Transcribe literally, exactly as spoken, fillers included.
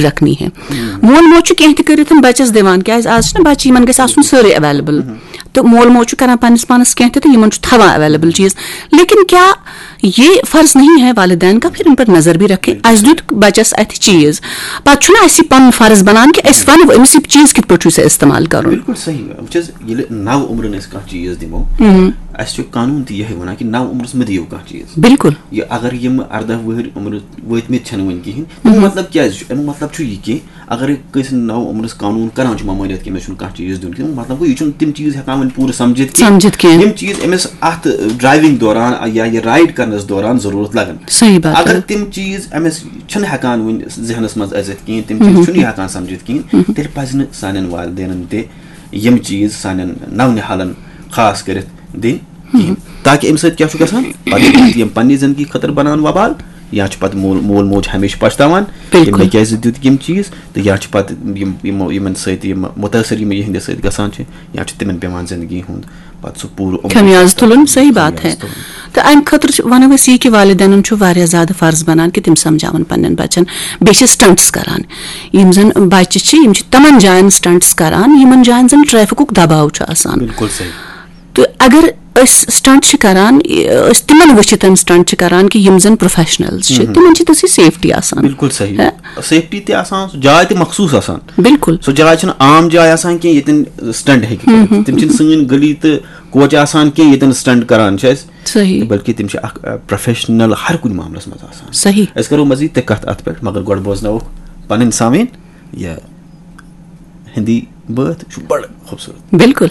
رکھنی ہے۔ مول موج چھُ کینٛہہ تہِ کٔرِتھ بَچَس دِوان، کیٛازِ آز چھِنہ بَچہِ، یِمَن گژھِ آسُن سٲرٕے ایویلیبل۔ تہٕ مول موج چھُ کران پنٛنِس پانَس کینٛہہ تہِ تہٕ یِمَن چھُ تھاوان ایویلیبل چیٖز۔ لیکن کیٛاہ یہ فرض نہیں ہے والدین کا پھر ان پر نظر بھی رکھے؟ اَسہِ دیُت بَچَس اَتھِ چیٖز، پَتہٕ چھُنہ اَسہِ یہِ پَنُن فرض بَنان کہِ أسۍ وَنو أمِس یہِ چیٖز کِتھ پٲٹھۍ چھُ ژےٚ استعمال کَرُن۔ بِلکُل صحیح۔ وٕچھ حظ، ییٚلہِ نَو عُمرَن أسۍ کانٛہہ چیٖز دِمو، اَسہِ چھُ قانوٗن تہِ یِہوٚے وَنان کہِ نَو عُمرَس مہٕ دِیِو کانٛہہ چیٖز۔ بِلکُل۔ یہِ اگر یِم اَرداہ وُہٕرۍ عُمرٕ وٲتمٕتۍ چھَنہٕ وٕنہِ کِہیٖنۍ، اَمیُک مطلب کیٛازِ چھُ؟ اَمیُک مطلب چھُ یہِ کہِ اگر کٲنٛسہِ نَو عُمرَس قانوٗن کَران چھُ ممٲنِیت کہِ أمِس چھُنہٕ کانٛہہ چیٖز دیُن کِہیٖنۍ، مطلب گوٚو یہِ چھُنہٕ تِم چیٖز ہٮ۪کان وۄنۍ پوٗرٕ سَمجھِتھ کینٛہہ۔ سَمجھِتھ کینٛہہ۔ یِم چیٖز أمِس اَتھ ڈرٛایوِنٛگ دوران یا یہِ رایڈ کَرنَس دوران ضروٗرت لَگَن۔ صحیح بات اگر ہے۔ تِم چیٖز أمِس چھِنہٕ ہٮ۪کان وٕنہِ ذہنَس منٛز أژِتھ کِہیٖنۍ، تِم چیٖز چھُنہٕ یہِ ہٮ۪کان سَمجھِتھ کِہیٖنۍ، تیٚلہِ پَزِ نہٕ سانٮ۪ن والدینَن تہِ یِم چیٖز سانٮ۪ن نَونِہالَن خاص کٔرِتھ دِنۍ کِہیٖنۍ۔ تاکہِ اَمہِ سۭتۍ کیٛاہ چھُ گژھان؟ پَتہٕ چھِ یِم پنٛنہِ زِندگی خٲطرٕ بَنان وبال، یا چھُ پَتہٕ مول مول موج ہمیشہِ پَشتاوان کہِ بِلکُل۔ مےٚ کیٛازِ دیُت یِم چیٖز، تہٕ یا چھِ پَتہٕ یِم یِمو یِمَن سۭتۍ یِم مُتٲثر یِم یِہِنٛدِ سۭتۍ گژھان چھِ، یا چھُ تِمَن پٮ۪وان زِندگی ہُنٛد پَتہٕ سُہ پوٗرٕ عُمر خمیاز تُلُن۔ صحیح بات ہے۔ خمیاز تُلُن۔ تہٕ اَمہِ خٲطرٕ چھُ، وَنو أسۍ یہِ کہِ والدینَن چھُ واریاہ زیادٕ فرض بَنان کہِ تِم سَمجھاوَن پنٛنٮ۪ن بَچَن۔ بیٚیہِ چھِ سٹنٹس کَران، یِم زَن بَچہِ چھِ، یِم چھِ تِمَن جایَن سٹنٹس کَران، یِمَن جایَن زَن ٹریفکُک دباو چھُ آسان۔ بِلکُل صحیح۔ تہٕ اگر أسۍ سٹنٹ چھِ کران، أسۍ تِمن وٕچھِتھ سٹنٹ چھِ کران کہِ یِم زن پروفیشنلز چھِ، تِمن چھِ تِژھٕے سیفٹی آسان۔ بِلکُل صحیح۔ ہے؟ سیفٹی تہِ آسان، سُہ جاے تہِ مخصوٗص آسان۔ بِلکُل۔ سۄ جاے چھَنہٕ عام جاے آسان کینٛہہ ییٚتٮ۪ن سٹنٹ ہیٚکہِ کٔرِتھ۔ تِم چھِنہٕ سٲنۍ گلی تہٕ کوچہِ آسان کینٛہہ ییٚتٮ۪ن سٹنٹ کران چھِ أسۍ۔ صحیح۔ بلکہِ تِم چھِ اکھ، اَ، پروفیشنل ہر کُنہِ معاملس منٛز آسان۔ صحیح۔ أسۍ کرو مزید تہِ کتھ اتھ پٮ۪ٹھ، مگر گۄڈٕ بوزناووکھ پنٕنۍ سامعیٖن یہِ ہندی بٲتھ، چھُ بڑٕ خوٗبصوٗرت۔ بِلکُل۔